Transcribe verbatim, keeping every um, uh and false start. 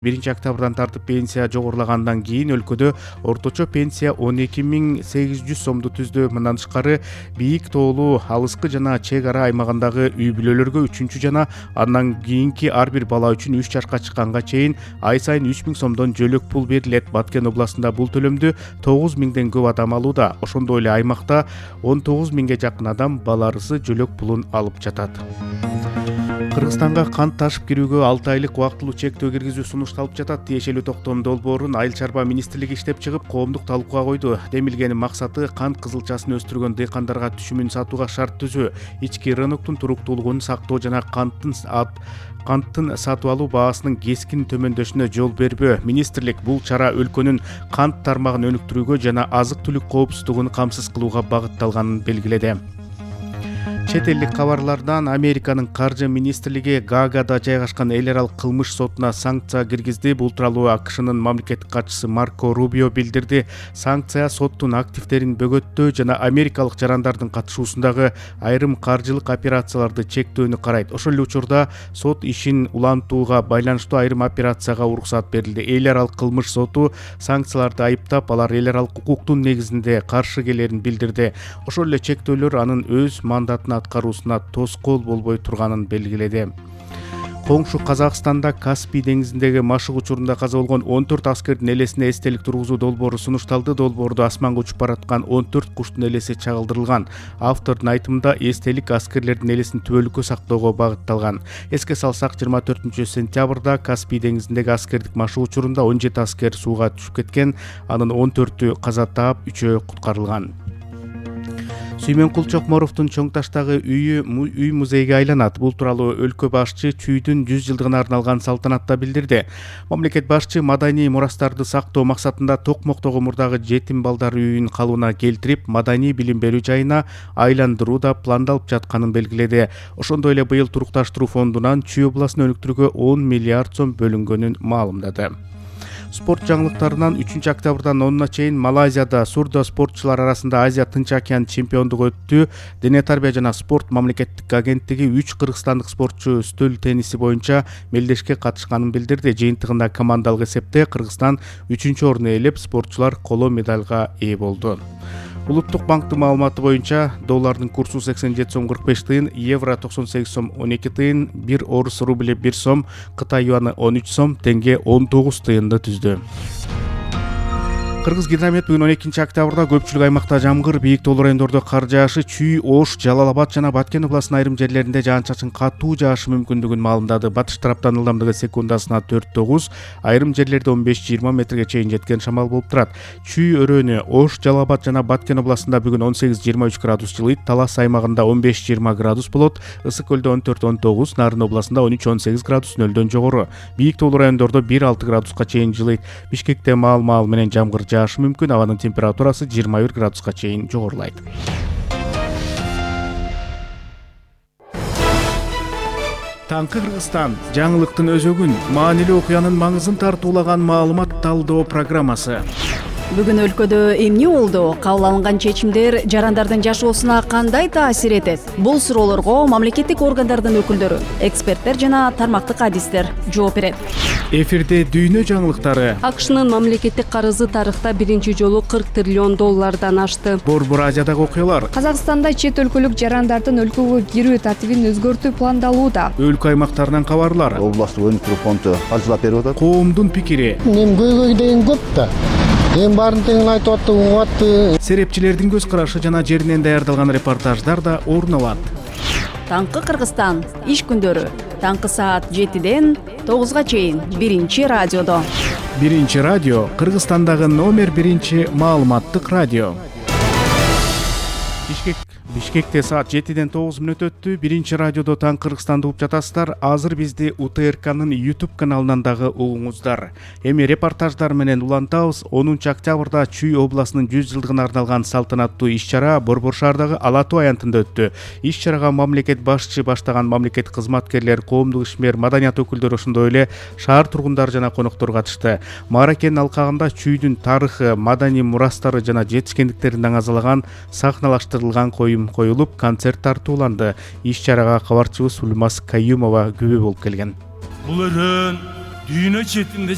биринчи октябрдан тартып пенсия жогорулагандан кийин өлкөдө орточо пенсия он эки миң сегиз жүз сомду түздү. Мындан тышкары бийик тоолуу, алыскы жана чек ара аймагындагы үй бүлөлөргө үчүнчү жана андан кийинки ар бир бала үчүн үч жашка чыкканга чейин ай сайын үч миң сомдон жөлөк пул берилет. Баткен областында бул төлөмдү тогуз миңден көп адам алууда. Ошондой эле аймакта он тогуз миңге жакын адам баларысы жөлөк пулун алып жатат. Кыргызстанга кант ташып кирүүгө алты айлык убактылуу чектөө киргизүү сунушталып жатат. Тиешелүү токтом долбоорун Айыл чарба министрлиги иштеп чыгып, коомдук талкууга койду. Демилгенин максаты кант кызылчасын өстүргөн дыйкандарга түшүмүн сатууга шарт түзүү, ички рыноктун туруктуулугун сактоо жана канттын канттын сатып алуу баасынын кескин төмөндөшүнө жол бербөө. Министрлик бул чара өлкөнүн кант тармагын өнүктүрүүгө жана азык-түлүк коопсуздугун камсыз кылууга багытталганын белгиледи. Чет элдик кабарлардан Американын каржы министрлиги Гаагада жайгашкан эл аралык кылмыш сотуна санкция киргизди. Бул тууралуу АКШнын мамлекеттик катчысы Марко Рубио билдирди. Санкция соттун активдерин бөгөттөө жана америкалык жарандардын катышуусундагы айрым каржылык операцияларды чектөөнү карайт. Ошол эле учурда сот ишин улантууга байланыштуу айрым операцияга уруксат берилди. Эл аралык кылмыш соту санкцияларды айыптап, алар эл аралык укуктун негизинде каршы келерин билдирди. Ошол эле чектөөлөр анын өз мандатына аткаруусуна тоскоол болбой турганын белгиледи. Коңшу Казакстанда Каспий деңизиндеги машык учурунда каза болгон он төрт аскердин элесине эстелик тургузуу долбоору сунушталды. Долбоордо асманга учуп бараткан он төрт куштун элеси чагылдырылган. Автордун айтымында эстелик аскерлердин элесин түбөлүккө сактоого багытталган. Эске салсак, жыйырма төртүнчү сентябрда Каспий деңизиндеги аскердик машык учурунда он жети аскер сууга түшүп кеткен. Анын он төртү каза таап, үчөө куткарылган. Сүймөн Кулчокморовдун Чоң Таштагы үйү үй музейге айланат. Бул тууралуу өлкө башчы чүйдүн жүз жылдыгына арналган салтанатта билдирди. Мамлекет башчы маданий мурастарды сактоо максатында Токмоктогу мурдагы жетим балдар үйүн калыбына келтирип, маданий билим берүү жайына айландыруу да пландалып жатканын белгиледи. Ошондой эле быйыл турукташтыруу фондунан Чүй областын өнүктүрүүгө он миллиард сом бөлүнгөнүн маалымдады. Спорт жаңылыктарынан үчүнчү октябрдан онуна чейин Малайзияда сурдо спортчулар арасында Азия Тынч океан чемпиондугу өттү. Дене тарбия жана спорт мамлекеттик агенттиги үч кыргызстандык спортчу стөл тенниси боюнча мелдешке катышканын билдирди. Жыйынтыгында командалык эсепте Кыргызстан үчүнчү орунду ээлеп, спортчулар коло медалга ээ болду. Улуттук банктын маалыматы боюнча доллардын курсу сексен жети сом кырк беш тыйын, евро токсон сегиз сом он эки тыйын, бир орус рубли бир сом, Кытай юаны он үч сом, тенге он тогуз тыйынды түздү. Кыргыз гидромет бүгүн он экинчи октябрда көпчүлүк аймакта жамгыр, бийик тоолуу райондордо кар жаашы, Чүй, Ош, Жалал Абад жана Баткен областынын айрым жерлеринде жаан-чачын катуу жаашы мүмкүндүгүн маалымдады. Батыш тараптан ылдамдыгы секундасына төрт тогуз, айрым жерлерде он беш жыйырма метрге чейин жеткен шамал болуп турат. Чүй өрөөнү, Ош, Жалал Абад жана Баткен областында бүгүн он сегиз жыйырма үч градус жылыйт, Талас аймагында он беш жыйырма градус болот, Ысык көлдө он төрт он тогуз, Нарын областында он үч он сегиз градус нөлдөн жогору. Бийик тоолуу райондордо бир алты градуска чейин жылыйт. Бишкекте маал-маал менен жамгыр жаашы мүмкүн, абанын температурасы жыйырма бир градуска чейин жогорулайт. Таңкы Кыргызстан жаңылыктын өзөгүн, маанилүү окуянын маңызын тартуулаган маалымат талдоо программасы. Бүгүн өлкөдө эмне болду? Кабыл алынган чечимдер жарандардын жашоосуна кандай таасир этет? Бул суроолорго мамлекеттик органдардын өкүлдөрү, эксперттер жана тармактык адистер жооп берет. Эфирде дүйнө жаңылыктары. АКШнын мамлекеттик карызы тарыхта биринчи жолу кырк триллион доллардан ашты. Борбор Азиядагы окуялар. Казакстанда чет өлкөлүк жарандардын өлкөгө кирүү тартибин өзгөртүү пландалууда. Өлкө аймактарынан кабарлар. Областтык өнүктүрүү фонду каржылап берип атат. Коомдун пикири. Эми көйгөй деген көп да. Эми баарын тең айтып атты, угуп атты. Серепчилердин көз карашы жана жеринен даярдалган репортаждар да орун алат. Таңкы Кыргызстан иш күндөрү таңкы саат жетиден тогузга чейин биринчи радиодо. Биринчи радио Кыргызстандагы номер биринчи маалыматтык радио. Бишкек Бишкекте саат жетиден тогуз мүнөт өттү. Биринчи радиодо Таң Кыргызстанды угуп жатасыздар. Азыр бизди УТРКнын YouTube каналынан дагы угуңуздар. Эми репортаждар менен улантабыз. онунчу октябрда Чүй областынын жүз жылдыгына арналган салтанаттуу иш-чара Борбор шаардагы Ала Тоо аянтында өттү. Иш-чарага мамлекет башчы баштаган мамлекеттик кызматкерлер, коомдук ишмер, маданият өкүлдөрү, ошондой эле шаар тургундары жана коноктор катышты. Мааракенин алкагында Чүйдүн тарыхы, маданий мурастары жана жетишкендиктерин даңазалаган сахналаштырылган коюм коюлуп, концерт тартууланды. Иш-чарага кабарчыбыз Улмас Каюмова күбө болуп келген. Бул өрөөн дүйнө четинде